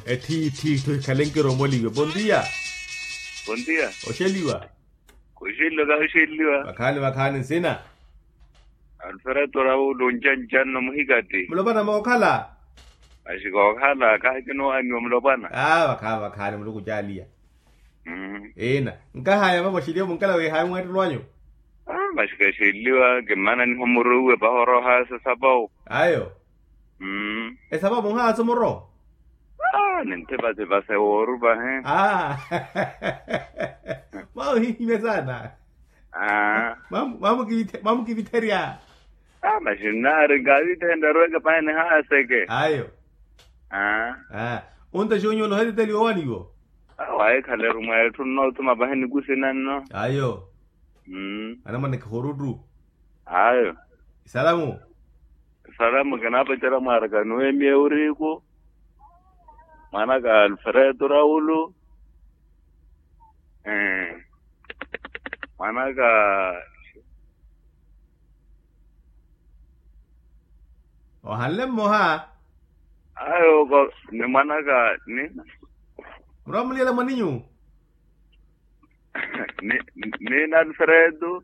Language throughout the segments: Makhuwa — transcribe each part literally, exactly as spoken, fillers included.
Etthi etthi etthu ekhale nkiromoliwe bondia. Bondia. Oxeliwa. Kuxeliwa kaxuxeliwa. Vakhaani vakhaani nsina. Alfereto raulu njanjanno muhikati. Mulopwana mookhala. Maxi kookhala kahi kinowaaniwa mulopwana. Aa vakhaani vakhaani muluku caaliya. Ina nkahaya mama oxeliwa munkala wihaya mweettelo anyu. Maxi kaxeliwa kimmana niho muruwe pahoroha sasapau. Ayo. Esapau munhaatso muro. Ninthipathipa sewooru pahi. Mwamuhihimya saana. Mwamukivitherya. Maxi nnaari nkavithenrya arweke pahi nihaaseke. Ayo. Onta xoonya oloha eteteli oowaniwo. Wahikhaleru mweetthu nnoothuma pahi nikusina nno. Ayo. Anamwanekha oruttu. Ayo. Isalamu. Isalamu kinaapacerya mwaaraka nuwemiya ewuriku. Mwanaka alfereto raulu. Mwanaka ohanle mmoha. Ayo ko ni mwanaka ni. Murwa muliyela mwaninyu. Ni ni alfereto.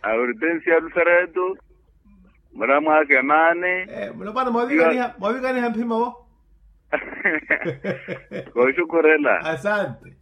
Aurtensia alfereto. Mura mwakemani. Mulopwana mwavikaniha mphima wo. Kooxukhurela. Asante.